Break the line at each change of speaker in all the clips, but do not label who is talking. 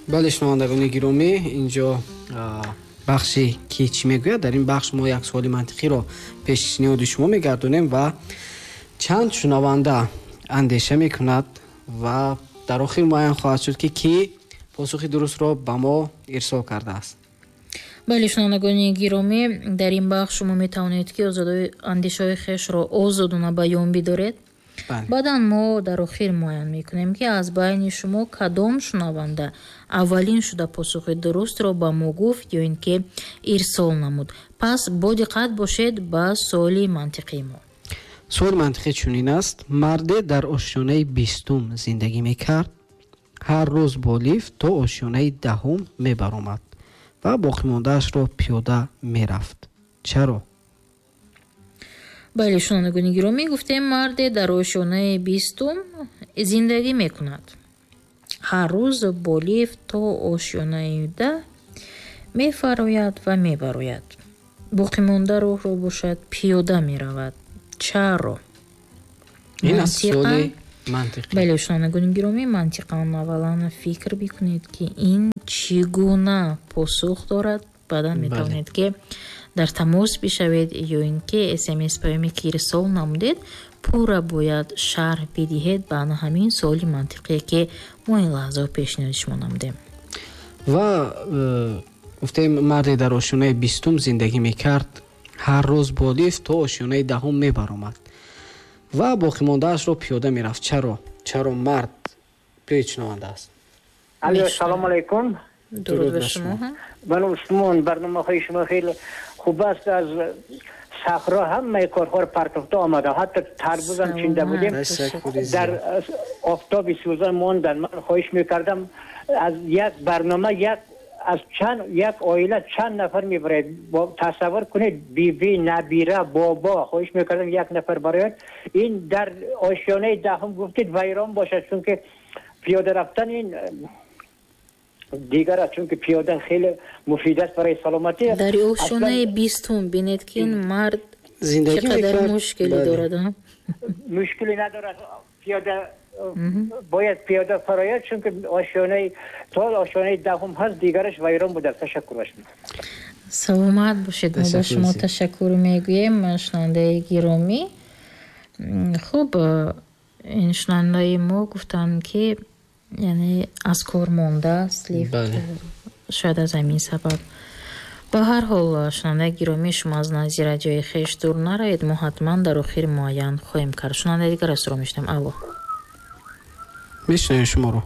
Бале, шунавандагони гиромӣ, инҷо бахши «Ки чӣ мегӯяд». Дар ин бахш мо як суоли мантиқиро пешниҳоди шумо мегардонем ва чанд шунаванда андеша мекунад ва дар охир муайян хоҳад шуд, ки кӣ посухи дурустро ба мо ирсол кардааст.
Бале, шунавандагони гиромӣ, дар ин бахш шумо метавонед, ки андешаҳои хешро озодона баён бидоред. Баъдан мо дар охир муайян мекунем, ки аз байни шумо кадом шунаванда аввалин шуда посухи дурустро ба мо гуфт ё ин ки ирсол намуд. Пас бо диққат бошед ба суоли мантиқии мо.
Суоли мантиқӣ чунин аст: марде дар ошёнаи 20-ум зиндагӣ мекард, ҳар рӯз бо лифт то ошёнаи 10-ум мебаромад ва боқимондаашро пиёда мерафт. Чаро?
Бале, шунавандагони гиромӣ, гуфтем, марде дар ошёнаи 20-ум зиндагӣ мекунад, ҳар рӯз бо лифт то ошёнаи 10 мефарояд ва мебарояд, боқимонда роҳро бошад, пиёда меравад. Чаро?
Ин аст суоли мантиқӣ.
Бале, шунавандагони гиромӣ, мантиқан аввалан фикр бикунед, ки ин чӣ гуна посух дорад. Баъдан метавонед, ки дар тамос бишавед ё ин ки СМС паёме ки ирсол намудед, пурра бояд шарҳ бидиҳед ба ана ҳамин суоли мантиқие, ки мо ин лаҳзао пешниҳоди шумо намудем.
Ва гуфтем, марде дар ошёнаи 20-ум зиндагӣ мекард, ҳар рӯз бо лифт то ошёнаи 10-ум мебаромад ва боқимондаашро пиёда мерафт. Чаро? Чаро мард? Биёед, шунаванда аст.
Алло, салому алайкум.
Дуруд ба шумо.
Ман Усмон. Барномаҳои шумо хеле хуб аст. Аз саҳро ҳамаи корҳоро партофта омадам, ҳатто тарбузам чинда будем, дар офтоби сӯзон мондан. Ман хоҳиш мекардам, аз як барнома як аз чанд як оила чанд нафар мебарад, тасаввур кунед, биби, набира, бобо. Хоҳиш мекардам, як нафар барояд. Ин дар ошёнаи 10-ум гуфтед, вайрон бошад, чунки пиёда рафтан ин дигар аст, чунки пиёда хеле муфид аст барои саломатӣ.
Дар ошёнаи 20-ум, бинед, ки ин мард
зиндагӣ
чӣ қадар
мекард.
Мушкилӣ дорад, а?
Мушкилӣ надорад, пиёда бояд пиёда фарояд, чунки ошёнаи то ошёнаи 10-ум ҳаст, дигараш вайрон будааст. Ташаккур ба шумо.
Саломат бошед. Мо ба
Ташаккур
шумо
зиёд.
ташаккур мегӯем, шунавандаи гиромӣ. Хуб, ин шунавандаи мо гуфтанд, ки яъне аз кор мондааст лифт, шояд аз ҳамин сабаб. Ба ҳар ҳол, шунавандаи гиромӣ, шумо аз назди радиои хеш дур наравед, мо ҳатман дар охир муайян хоҳем кард. Шунавандаи дигар астро мешунавем. Алло.
Мешунавем шуморо.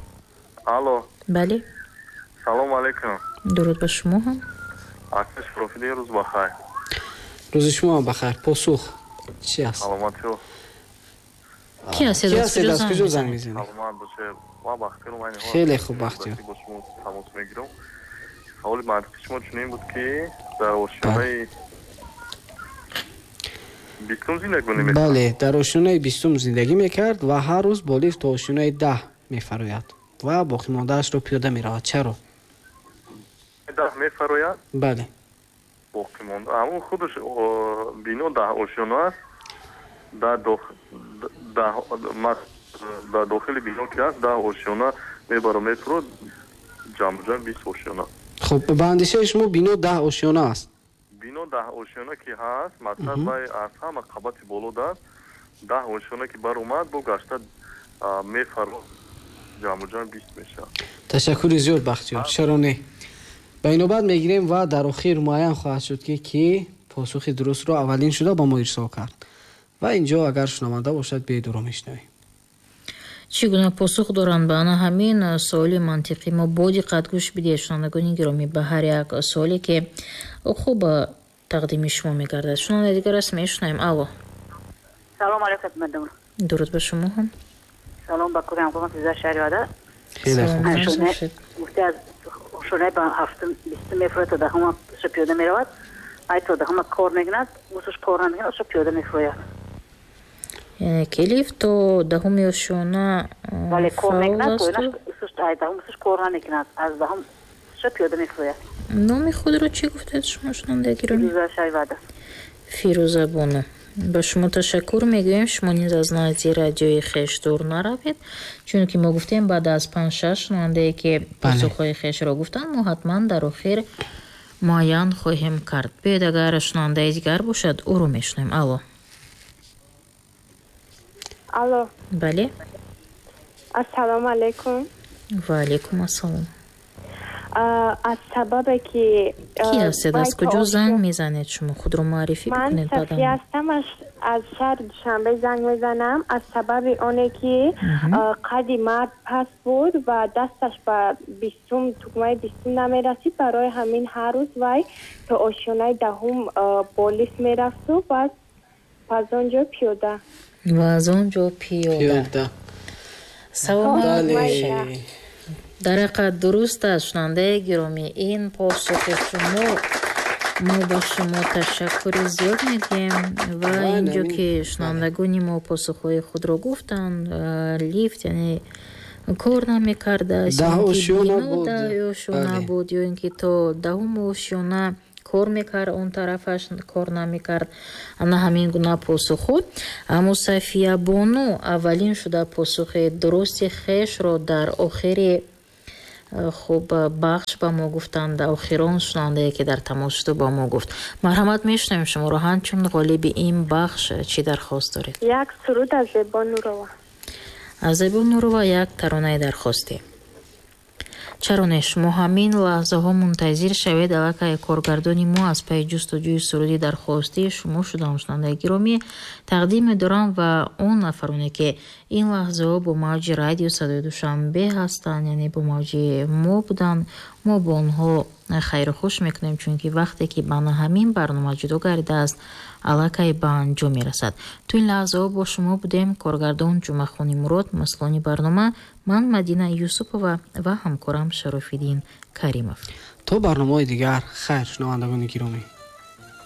Алло.
Бале.
Салому алайкум.
Дуруд ба шумо ҳам.
Акаш профили, рӯз бахайр.
Рӯзи шумо ҳам бахайр. Посух чи аст?
Саломатиё.
Ки ҳастед?
Ки
аз
ҳастед,
куҷо
аз
занг
куҷо занг
мезанед?
мезанед?
Саломат бошед. Ман Бахтиёр, ман
Хеле хуб, Бахтиёр.
Бо шумо тамос мегирам. Саволи мантиқи шумо чунин буд, ки дар ошёнаи 20-ум зиндагӣ мекард?
Бале, дар ошёнаи 20-ум зиндагӣ мекард ва ҳар рӯз бо лифт то ошёнаи 10 мефарояд ва боқимондаашро пиёда меравад. Чаро?
10 мефарояд?
Бале.
Боқимонда ҳамон худаш бино 10 ошёна аст, дар дохили бино ки аст, 10 ошёна мебаро мефурод, ҷамъ 20 ошёна.
Хуб, ба андешаи шумо бино 10 ошёна аст?
Бино 10 ошёна ки ҳаст, мақсад вай аз ҳама қабати боло даст, 10 ошёна ки баромад, бо гашта мефарод, ҷамъу ҷамъ 20 мешавад.
Ташаккури зиёд, Бахтиёр. Чаро не, ба инобат мегирем ва дар охир муайян хоҳад шуд, ки кӣ посухи дурустро аввалин шуда ба мо ирсол кард. Ва инҷо агар шунаванда бошад, биёед, ӯро мешунавем.
Чӣ гуна посух доранд ба ана ҳамин суоли мантиқӣ? Мо бо диққат гӯш бидиҳед, шунавандагони гиромӣ, ба ҳар як суоле, ки хуб тақдими шумо мегардад. Шунавандаи дигар аст, мешунавем. Алло.
Салом алайкум, мадам.
Дуруд ба шумо ҳам.
Салом ба кури ҳамкорон за шаҳри.
Хеле хуб.
Саломат бошед.
Гуфте, аз ошонаи ба ҳафтум, 20-ум мефурояд, то 10-ума пиёда меравад, ай то 10-ума кор мекунад, усуш кор намекунад, ушу пиёда мефурояд.
Яъне ки лифт то 10-уми ошёна
Вале кор
фаъол
мекунад,
асту?
Усуш ай 10-ум усуш кор намекунад, аз 10-ум ушу пиёда мефурояд.
Номи худро чӣ гуфтед шумо, шунавандаи гиромӣ?
Фирӯза шаҳри.
Фирӯза бону. Ба шумо ташаккур мегӯем. Шумо низ аз назди радиои хеш дур наравед, чунки мо гуфтем, баъд аз панҷ-шаш шунавандае, ки посухҳои хешро гуфтанд, мо ҳатман дар охир муайян хоҳем кард. Биёед, агар шунавандаи дигар бошад, ӯро мешунавем. Алло.
Алло.
Бале.
Ассалому алайкум.
Ва алайкум ассалом.
Аз сабабе ки
Кӣ ҳастед, аз куҷо занг мезанед? Шумо худро муаррифӣ
ман
бикунед.
Сафия ҳастам, аз шаҳри Душанбе занг мезанам. Аз сабаби оне ки қади мард паст буд ва дасташ ба бистум, тугмаи бистум намерасид, барои ҳамин ҳар рӯз вай то ошёнаи даҳум бо лифт мерафту баъд аз он ҷо пиёда.
Ва аз он ҷо пиёда. Саломат бошед. Дар ҳақиқат дуруст аст, шунавандаи гиромӣ, ин посухи шумо. Мо ба шумо ташаккури зиёд мегӯем. Ва инҷо ки шунавандагони мо посухҳои худро гуфтанд, лифт яъне кор намекардааст, ошёна буд ё ин ки то даҳум ошёна кор мекард, он тарафаш кор намекард. Ана ҳамин гуна посухҳо. Аммо Сафия бону аввалин шуда посухи дурусти хешро дар охири хуб бахш ба мо гуфтанд. Охирон шунавандае, ки дар тамос шуду ба мо гуфт. Марҳамат, мешунавем шуморо. Ҳамчун ғолиби ин бахш чӣ дархост доред?
Як суруд аз Зебо Нурова.
Аз Зебо Нурова як таронаи дархостӣ. Чаро не, шумо ҳамин лаҳзаҳо мунтазир шавед, аллакай коргардони мо аз пайи ҷустуҷӯи суруди дархостии шумо шудам. Шунавандаи гиромӣ, тақдим медорам ва он нафароне, ки ин лаҳзаҳо бо мавҷи радио Садои Душанбе ҳастанд, яъне бо мавҷи мо буданд, мо бо онҳо хайру хуш мекунем, чунки вақте ки ба ҳамин барнома ҷудо гардидааст, аллакай ба анҷом мерасад. То ин лаҳзаҳо бо шумо будем коргардон Ҷумъахони Мурод, масъулони барнома ман Мадина Юсупова ва ҳамкорам Шарофиддин Каримов.
То барномаҳои дигар хайр, шунавандагони гиромӣ.